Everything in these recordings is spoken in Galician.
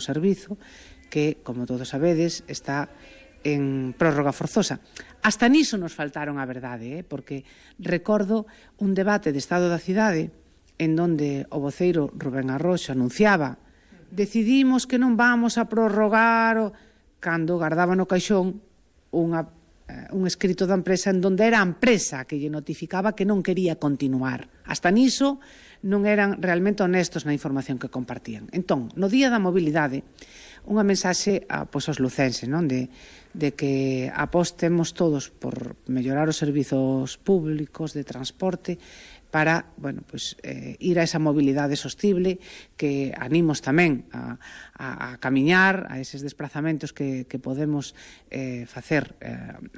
servizo que, como todos sabedes, está en prórroga forzosa. Hasta niso nos faltaron a verdade, porque recordo un debate de Estado da Cidade en donde o voceiro Rubén Arroxo anunciaba: decidimos que non vamos a prorrogar, cando guardaba no caixón un escrito da empresa en donde era a empresa que lle notificaba que non quería continuar. Hasta niso non eran realmente honestos na información que compartían. Entón, no Día da Mobilidade, unha mensaxe aos lucenses, de que apostemos todos por mellorar os servizos públicos de transporte para ir a esa mobilidade sostible, que animos tamén a camiñar, a eses desplazamentos que podemos facer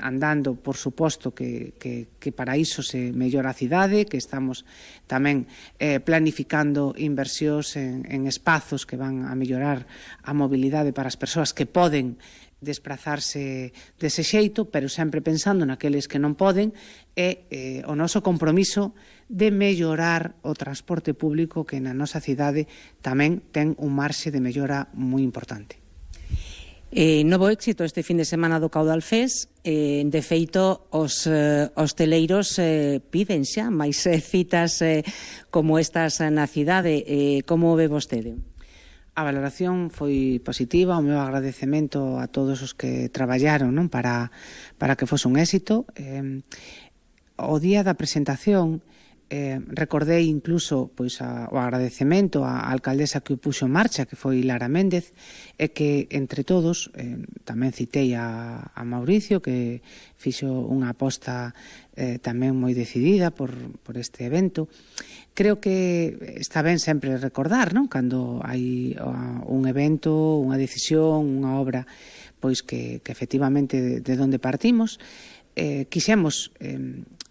andando, por suposto que para iso se mellora a cidade, que estamos tamén planificando inversións en espazos que van a mellorar a mobilidade para as persoas que poden desplazarse dese xeito, pero sempre pensando naqueles que non poden, e o noso compromiso de mellorar o transporte público, que na nosa cidade tamén ten un marxe de mellora moi importante. Novo éxito este fin de semana do Caudal Fest. De feito, os hosteleiros piden xa máis citas como estas na cidade. Como ve vostede? A valoración foi positiva, o meu agradecemento a todos os que traballaron para que fose un éxito. O día da presentación recordei incluso o agradecemento á alcaldesa que o puxo en marcha, que foi Lara Méndez, e que entre todos tamén citei a Mauricio, que fixo unha aposta tamén moi decidida por este evento. Creo que está ben sempre recordar, cando hai un evento, unha decisión, unha obra, que efectivamente de onde partimos. Quixemos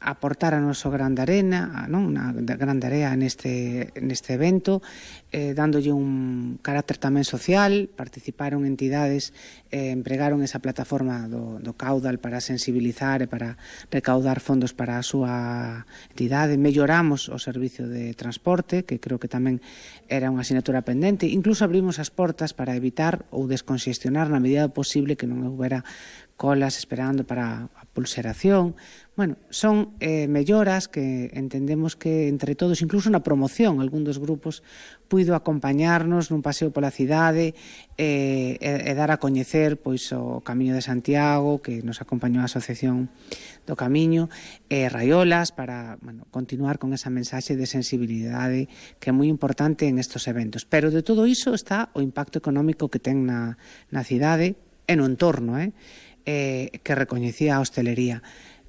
aportar a noso gran de arena, unha gran area neste evento, dándolle un carácter tamén social. Participaron entidades, empregaron esa plataforma do Caudal para sensibilizar e para recaudar fondos para a súa entidade. Melloramos o servicio de transporte, que creo que tamén era unha asignatura pendente. Incluso abrimos as portas para evitar ou desconxestionar na medida posible que non houbera colas esperando para a pulseración. Son melloras que entendemos que entre todos, incluso na promoción, algún dos grupos puido acompañarnos nun paseo pola cidade e dar a coñecer o Camiño de Santiago, que nos acompañou a Asociación do Camiño, e Raiolas, para continuar con esa mensaxe de sensibilidade que é moi importante en estes eventos. Pero de todo iso está o impacto económico que ten na cidade e no entorno, que recoñecía a hostelería.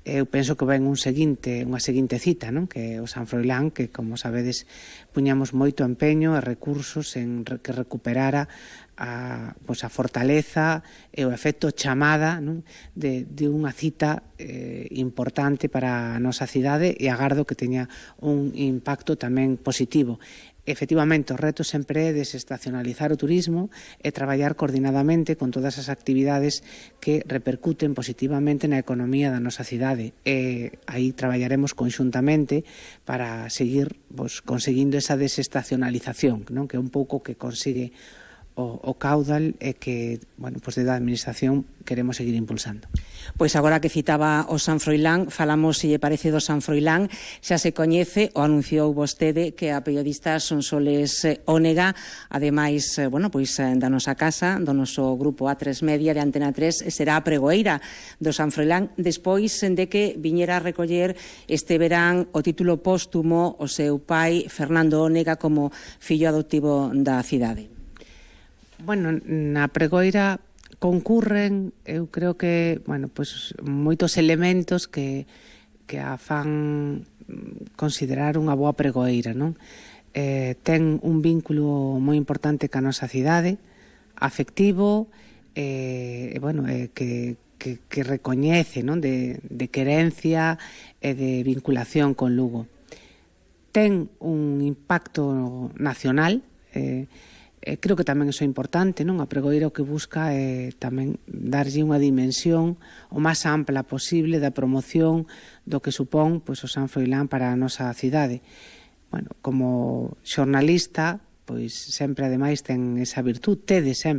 Eu penso que ven unha seguinte cita, que é o San Froilán, que, como sabedes, puñamos moito empeño e recursos en que recuperara a fortaleza e o efecto chamada de unha cita importante para a nosa cidade, e agardo que teña un impacto tamén positivo. Efectivamente, o reto sempre é desestacionalizar o turismo e traballar coordinadamente con todas as actividades que repercuten positivamente na economía da nosa cidade. E aí traballaremos conxuntamente para seguir conseguindo esa desestacionalización, que é un pouco que consigue o Caudal, e que, desde a Administración queremos seguir impulsando. Pois agora que citaba o San Froilán, falamos, se lle parece, do San Froilán. Xa se coñece, o anunciou vostede, que a periodista Sonsoles Ónega, ademais, da nosa casa, do noso grupo A3 Media de Antena 3, será a pregoeira do San Froilán, despois de que viñera a recoller este verán o título póstumo o seu pai, Fernando Ónega, como fillo adoptivo da cidade. Na pregoira concurren, eu creo que, moitos elementos que a fan considerar unha boa pregoeira, ten un vínculo moi importante ca nosa cidade, afectivo, que recoñece, de querencia e de vinculación con Lugo. Ten un impacto nacional, creo que tamén iso é importante, a pregoeira o que busca é tamén darlle unha dimensión o máis ampla posible da promoción do que supón o San Froilán para a nosa cidade. Como xornalista, sempre ademais ten esa virtud, tede sempre